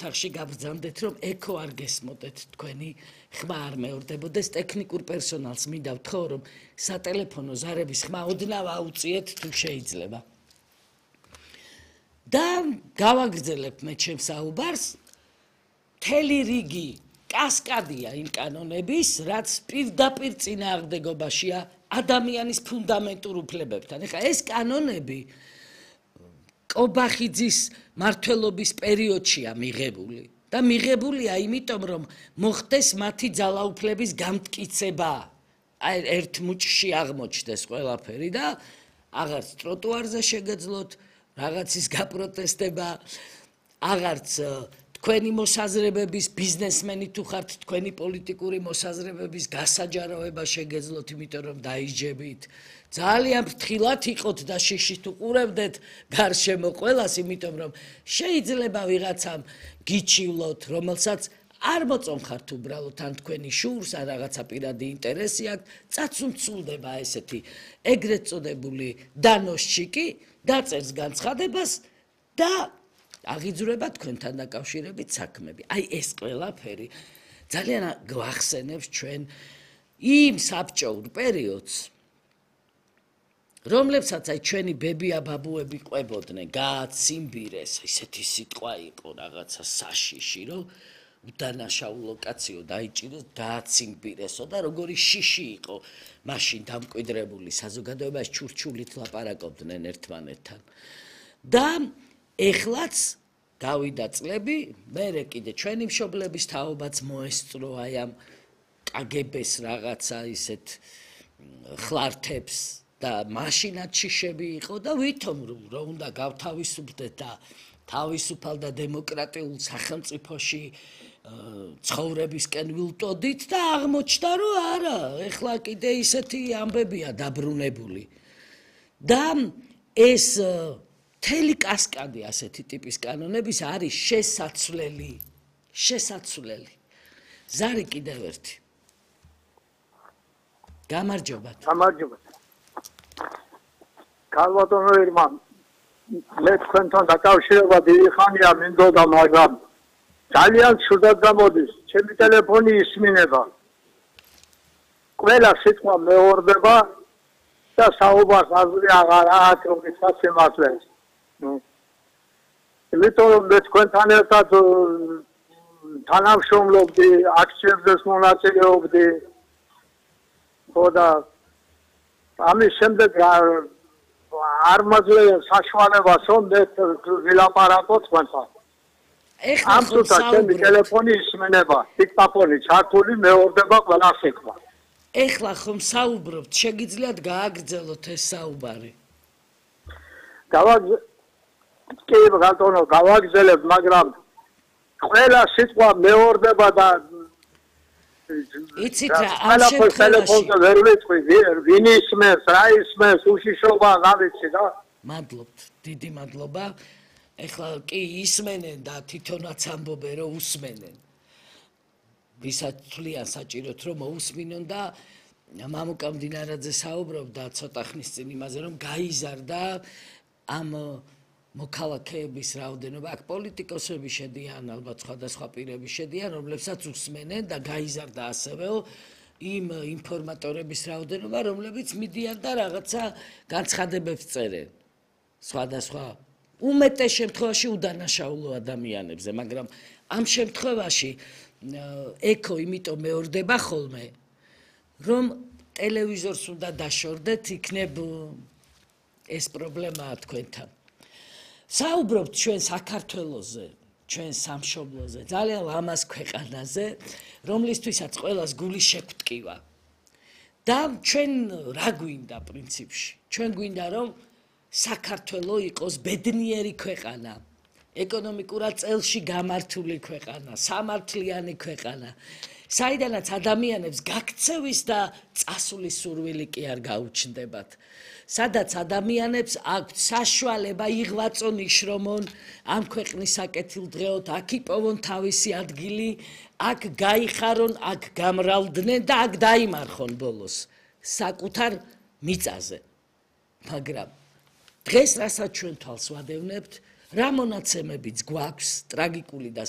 თახში გაბრძანდეთ, რომ ეკო არ გესმოდეთ თქვენი ხმა არ მეორდებოდეს ტექნიკურ პერსონალს მინდა ვთქო, რომ სატელეფონო ზარების ხმა ოდნავ აუწიეთ თუ შეიძლება. და გავაგრძელებ მე ჩემს საუბარს, მთელი რიგი კასკადია იმ კანონების, რაც პირდაპირ წინააღმდეგობაშია ადამიანის ფუნდამენტურ უფლებებთან. ეხლა ეს კანონები კობახიძის მმართველობის პერიოდშია მიღებული და მიღებულია იმიტომ, რომ მოხდეს მათი ძალაუფლების გამტკიცება. აი ერთ მუჭში აღმოჩნდეს ყველაფერი და აღარც ტროტუარზე შეგეძლოთ რაღაცის გაპროტესტება, აღარც თქვენი მოსაზრებების ბიზნესმენი თუ ხართ თქვენი პოლიტიკური მოსაზრებების გასაჯაროება შეგეძლოთ, იმიტომ რომ დაიჯებით. ძალიან ფრთხილად იყოთ და შიშით უყურებდეთ გარშემო ყველას, იმიტომ რომ შეიძლება ვიღაცამ გიჩივლოთ, რომელსაც არ მოწონხართ უბრალოდ ან თქვენი შურს, ან რაღაცა პირადი ინტერესი აქვს, წაცუნცულდება ესეთი ეგრეთ წოდებული დანოსჩიკი, დაწერს განცხადებას და აღიძვრება თქვენთან დაკავშირებით საქმეები. აი ეს ყველაფერი ძალიან გვახსენებს ჩვენ იმ საბჭოურ პერიოდს, რომლებსაც აი ჩვენი ბებია-ბაბუები ყვებოდნენ, გააციმბირეს, ისეთი სიტყვა იყო რაღაცა საშიში, რომ უდანაშაულ ლოკაციო დაიჭირეს, გააციმბირესო და როგორი შიში იყო მაშინ დამკვიდრებული საზოგადოებაში, ჩურჩულით ლაპარაკობდნენ ერთმანეთთან. და ეხლაც გავიდა წლები, მერე კიდე ჩვენი მშობლების თაობაც მოესწრო აი ამ კგბ-ს რაღაცა ისეთ ხლართებს და მაშინაც შიშები იყო და ვითომ რომ უნდა გავთავისუფლდეთ და თავისუფალ და დემოკრატიულ სახელმწიფოში ცხოვრებისკენ ვილტოდით და აღმოჩნდა, რომ არა, ეხლა კიდე ისეთი ამბებია დაბრუნებული. და ეს მთელი კასკადი ასეთი ტიპის კანონების არის შესაცვლელი. ზარი კიდევ ერთი. გამარჯობა. გამარჯობა. ქალბატონო ერმან, მე თქვენთან დაკავშირება დიდი ხანია მინდოდა, მაგრამ ძალიან ცუდად გამოდის. ჩემი ტელეფონი ისმინება. ყველა სიტყვა მეორდება და საუბარს აზრი აღარ აქვს, რომ ისაცემასლეს. იმიტომ რომ მე თქვენთან ერთად თანამშრომლობდი, აქციებზე მონაწილეობდი. ხო და ამის შემდეგ არ მაძლევ საშუალებას, რომ მე ვილაპარაკო თქვენთან. ამ თუთა ჩემი ტელეფონი ისმენება, დიქტაფონი ჩართული, მეორდება ყველა სიტყვა. ეხლა ხომ საუბრობთ, შეგიძლიათ გააგრძელოთ ეს საუბარი. კი, ბატონო, გავაგრძელებ, მაგრამ ყველა სიტყვა მეორდება და იცით რა, ამ შემთხვევაში ტელეფონზე ვერ ვიტყვი, ვინ ისმენს, რა ისმენს, უშიშრობა რა ვიცი და. მადლობთ, დიდი მადლობა. ეხლა კი ისმენენ და თვითონაც ამბობენ, რომ უსმენენ. ვისაც თვლიან საჭიროთ, რომ მოусმინონ და მამუკა მდინარაძე საუბრობდა ცოტა ხნის წინ იმაზე, რომ გაიზარდა ამ მოქალაქეების რაოდენობა, აქ პოლიტიკოსები შედიან, ალბათ სხვადასხვა პირები შედიან, რომლებსაც უსმენენ და გაიზარდა ასევე იმ ინფორმატორების რაოდენობა, რომლებიც მიდიან და რაღაცა განცხადებებს წერენ. სხვადასხვა უმეტეს შემთხვევაში უდანაშაულო ადამიანებზე, მაგრამ ამ შემთხვევაში ეკო იმიტომ მეორდება ხოლმე, რომ ტელევიზორს უნდა დაშორდეთ, იქნებ ეს პრობლემაა თქვენთან. საუბრობთ ჩვენ საქართველოზე, ჩვენ სამშობლოზე, ძალიან ლამაზ ქვეყანაზე, რომლისთვისაც ყველას გული შეგვტკივა. და ჩვენ რა გვინდა პრინციპში? ჩვენ გვინდა, რომ საქართველო იყოს ბედნიერი ქვეყანა, ეკონომიკურად წელში გამართული ქვეყანა, სამართლიანი ქვეყანა, საიდანაც ადამიანებს გაქცევის და წასulis სურვილი კი არ გაუჩნდებათ. სადაც ადამიანებს აქვთ საშუალება იღვაწონ, იშრომონ, ამ ქვეყნის საკეთილდღეოდ, აქ იპოვონ თავისი ადგილი, აქ გაიხარონ, აქ გამრავლდნენ და აქ დაიმარხონ ბოლოს საკუთარ მიწაზე. მაგრამ დღეს რასაც ჩვენ თვალს ვადევნებთ, რა მონაცემებიც გვაქვს ტრაგიკული და